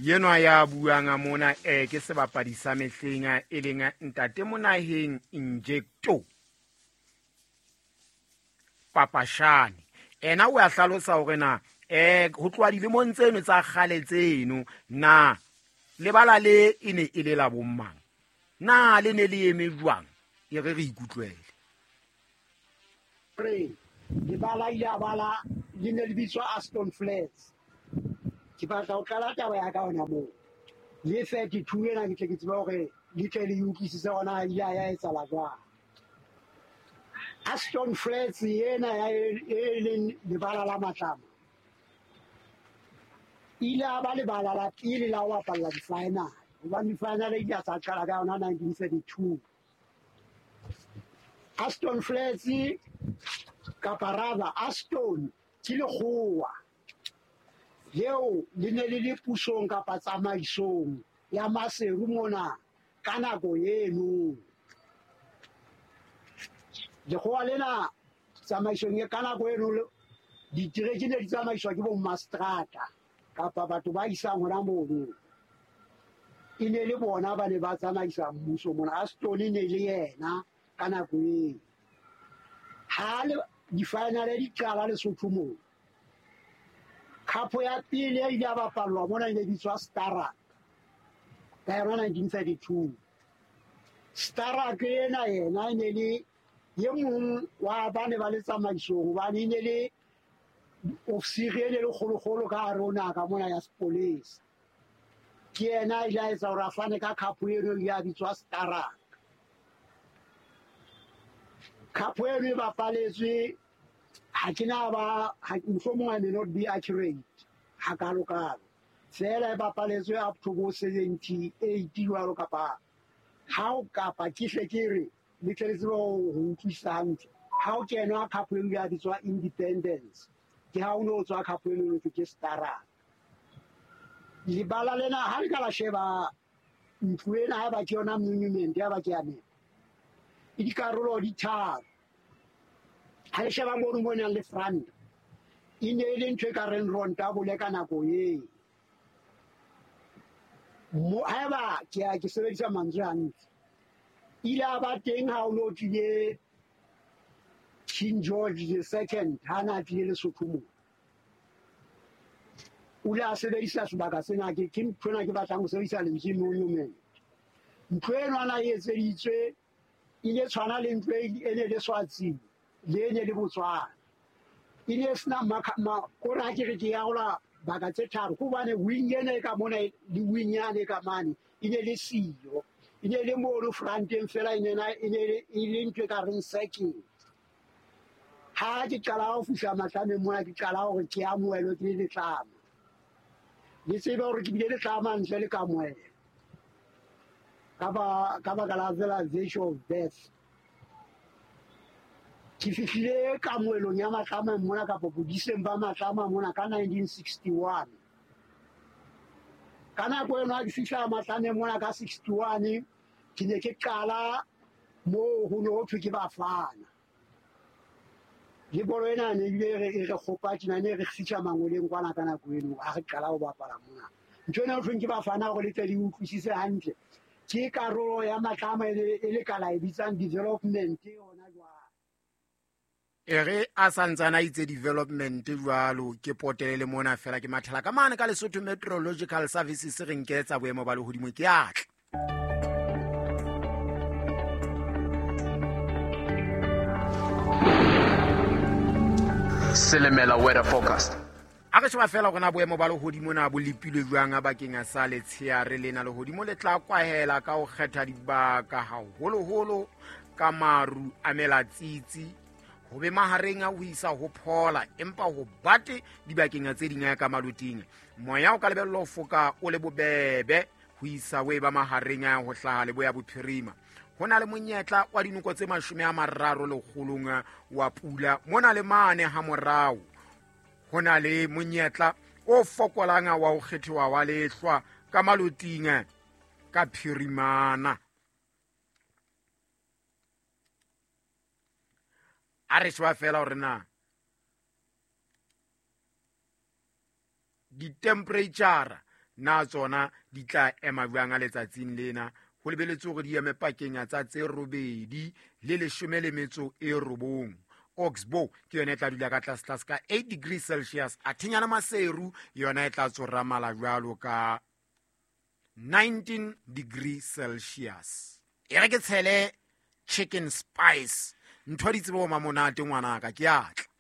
Yenwa ya buang mona ke sebapadi sa mehleng e leng ntate Monaheng Injecto Papashane. Ena o a hlalosa hore na ho tloha dilemong tseno tsa kgale tseno na lebala le e ne e le la bommang, na le ne le eme jwang, e re re ikutlwele. Re lebala ile a bala le ne le bitswa Aston Flats. Ke batla ho qala taba ya ka hona moo. Le 32 ena ke tle ke tsebe hore le tle le utlwisise hona ile ya etsahala jwang. Aston Flats ena ya e leng lebala la Matlama ile a ba lebala la pele la ho bapalla di-final, hobane di-final ile tsa qala ka yona 1932. Aston Flats kapa rather Aston ke lekgowa leo le ne le le pusong kapa tsamaisong ya Maseru mona ka nako eno. Lekgowa lena tsamaisong e ka nako eno ditereke ne di tsamaiswa ke bo mastrata kapa batho ba isang hona mono. E ne le bona ba ne ba tsamaisa mmuso mona. Aston e ne le yena ka nako eo. Ha le di-final di qala Lesotho moo, khapo ya pele e ile ya bapallwa mona e ne bitswa Starak ka yona 1932. Starak ena yena e ne le ye mong wa ba ne ba le tsamaisong, hobane e ne le ofisiri e ne le kgolokgolo ka hare ho naha ka mona ya sepolesa. Ke yena a ile a etsa hore a fane ka khapo eno e ile ya bitswa Starak. Khapo eno e bapaletswe, ha ke na ba, mohlomong I may not be accurate hakalo-kalo, feela e bapaletswe up to bo 78 jwalo kapa ha o kapa ke hle ke re le tle le tsebe ho utlwisisa hantle. Ha o kenwa khapo eo ya bitswa Independence, ke ha o no tswa khapo eno ke Starak. Lebala lena ha le ka la sheba ntlo ena, ha ba ke yona monument ya ba ke ya nepa, e dikarolo di tharo. Ha le sheba mono mo nang le front, e ne e le ntho e ka reng rontabole ka nako eo. Mo haeba ke a ke sebedisa mantswe hantle, ile a ba teng ha o no tlile King George the Second ha na tlile Lesotho moo. O ile a sebedisa sebaka sena, ke ntho ena ke batlang ho sebedisa lentswe monument. Ntlo eno ana e etseditswe e ne tshwana le ntlo e ne le Swatsing le e ne le Botswana. E ne sena kore ha ke re ke arola baka tse tharo, ke hobane wing ena e ka mona le wing yane e ka mane e ne le siyo. E ne le mono fronteng fela, e ne e le ntho e ka reng circle. Ha ke qala ho fihla Matlameng mona, ke qala hore ke amohelwe ke le letlama. Le tsebe hore ke bile letlama ntle le kamohelo ka baka la fela virtue of birth. Ke fihlile kamohelong ya Matlama mona kapa bodiseng ba Matlama mona ka 1961. Ka nako eno ha ke fihla Matlameng mona ka 61, ke ne ke qala moo ho ne ho thwe ke Bafana. Le bolo ena ne ebile e re kgopa tjena, ne re fihla mangoleng kwana ka nako eno ha re qala ho bapala mona. Ntho ena ho thweng ke Bafana hore le tle le utlwisise hantle, ke karolo ya Matlama e le ka la e bitsang development hona jwale. E re a santsana itse development jwalo, ke potele le mona fela ke mathela ka mane ka Lesotho Meteorological Services re nketsa boemo ba lehodimo ke atla. Selemela weather forecast. A re sheba fela hore na boemo ba lehodimo na bo lepilwe jwang bakeng sa letsheare lena. Lehodimo le tla kwahela ka ho kgetha dibaka haholoholo ka maru a melatsitsi, ho be mahareng a ho isa ho phola, empa ho bate dibakeng tse ding ka maloting. Moya o ka lebellwa ho foka o le bobebe ho isa ho eba mahareng a ho hlaha leboya bophirima. Ho na le monyetla wa dinoko tse 30 lekgolong wa pula mona le mane ha morao. Ho na le monyetla o fokolang wa ho kgethiwa wa lehlwa ka maloting ka phirimana. A re sheba fela hore na di-temperature Na tsona di tla ema jwang a letsatsing lena? Ho lebeletswe hore di eme pakeng tsa tse 8 le 19. Oxbow ke yona e tla dula ka tlase-tlase ka 8 degrees Celsius, athenyana Maseru yona e tla tsoramala jwalo ka 19 degrees Celsius. E re ke tshele chicken spice, ntho di tsebe ho mamonate ngwanaka, ke atla.